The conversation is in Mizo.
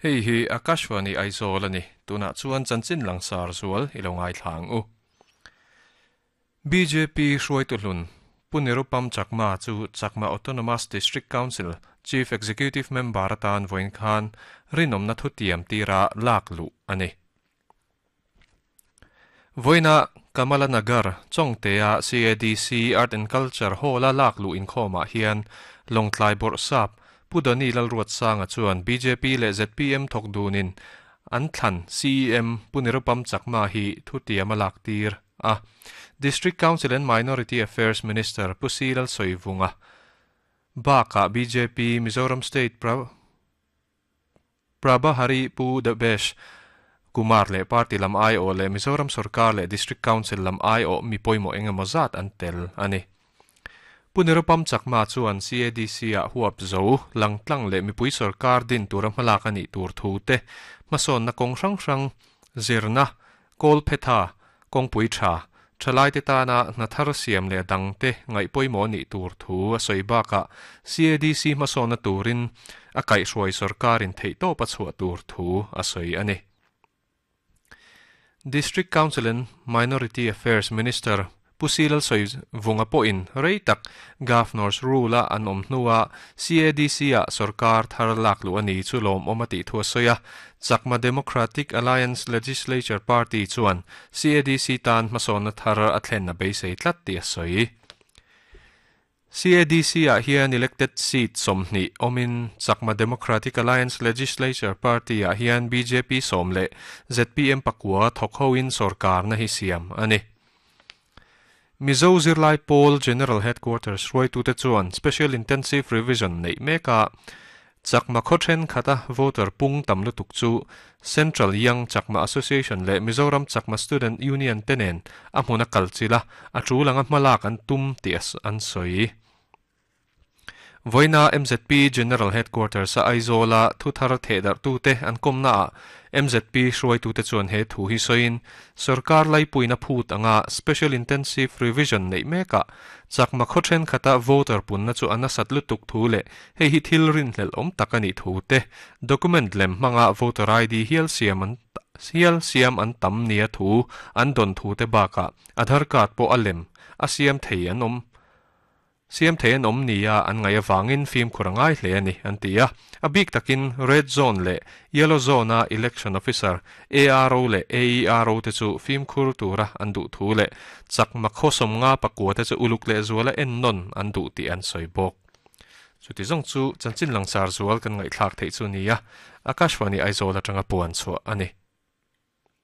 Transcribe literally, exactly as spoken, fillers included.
Hei hi Akashvani Aizawl ani tuna chuan chanchin langsar zual ilo ngai thlang u. B J P hruaitu hlun Punirupam Chakma chu Chakma Autonomous District Council Chief Executive Member atan voin khan rinomna thutiam tira lak lu ani. Voina Kamala Nagar Chongtea C A D C Art and Culture Hall a lak lu inkhawmah hian Lawngtlai Bawrhsap Pudani Lalruat Sanga chuan B J P leh Z P M thawk dunin an thlan C E M Punirupam Chakma hi thutiam a lak tir a. District Council and Minority Affairs Minister Pusilal Soivunga baka B J P Mizoram State pra Prabhari Pu Dabesh Kumar le party lam ai o le Mizoram Sarkar le District Council lam ai o mi poimo engemaw zat an tel ani. Punirupam Chakma chuan C A D C a huap zo langtlang le mipui sarkar din tura hmalak ani tur thu te hmasawn na kawng hrang hrang zirna kawl phetha kawngpui tha thalai te tana hna thar siam le dang te ngaih pawimawh ni tur thu a sawi bakah C A D C hmasawn na turin a kaihhruai sarkarin theih tawp a chhuah tur thu a sawi ani. District Council and Minority Affairs Minister Pusilal soi vunga pawhin rei tak Governor's Rule a an awm hnua C A D C a sarkar thar lak lu ani chu lawm awm a tih thu a sawi a. Chakma Democratic Alliance Legislature Party chuan C A D C tan hmasawnna thar a thlen a beisei tlat tih a sawi. C A D C ah hian elected seat sawmhnih awmin Chakma Democratic Alliance Legislature Party ah hian B J P sawm leh Z P M pakua thawk hoin sarkar na hi siam ani. Mizo Zirlai Pawl General Headquarters hruaitute chuan Special Intensive Revision nei meka Chakma khawthen khata voter pung tam lutuk chu Central Young Chakma Association le Mizoram Chakma Student Union tenen a hmuna kalchila a thu langa hmalak an tum ti an sawi. Voina M Z P General Headquarters a Aizola thuthar thedar tu te an komna a M Z P hruai tu te chuan he thu hi soin sarkar laipuina phut anga Special Intensive Revision nei meka Chakma khawthen khata voter punna chu ana satlu tuk thu le hei hi thil rin hlel om takani thu te document lem hmanga voter I D hial siam an hial siam an tam nia thu an don thu te baka Aadhaar card po alem a siam thei an om siam thei an om nia an ngai awangin fim khurangai hle ani an tia. A bik takin red zone le yellow zone a election officer A R O le A E R O te chu fim khur tura an du thu le Chakma khosom nga pakua te chu uluk le zuala en non an du ti an soi bok. Chu ti zong chu chanchin langsar zual kan ngai thlak thei chu nia. Akashvani Aizawl atanga puan chu ani.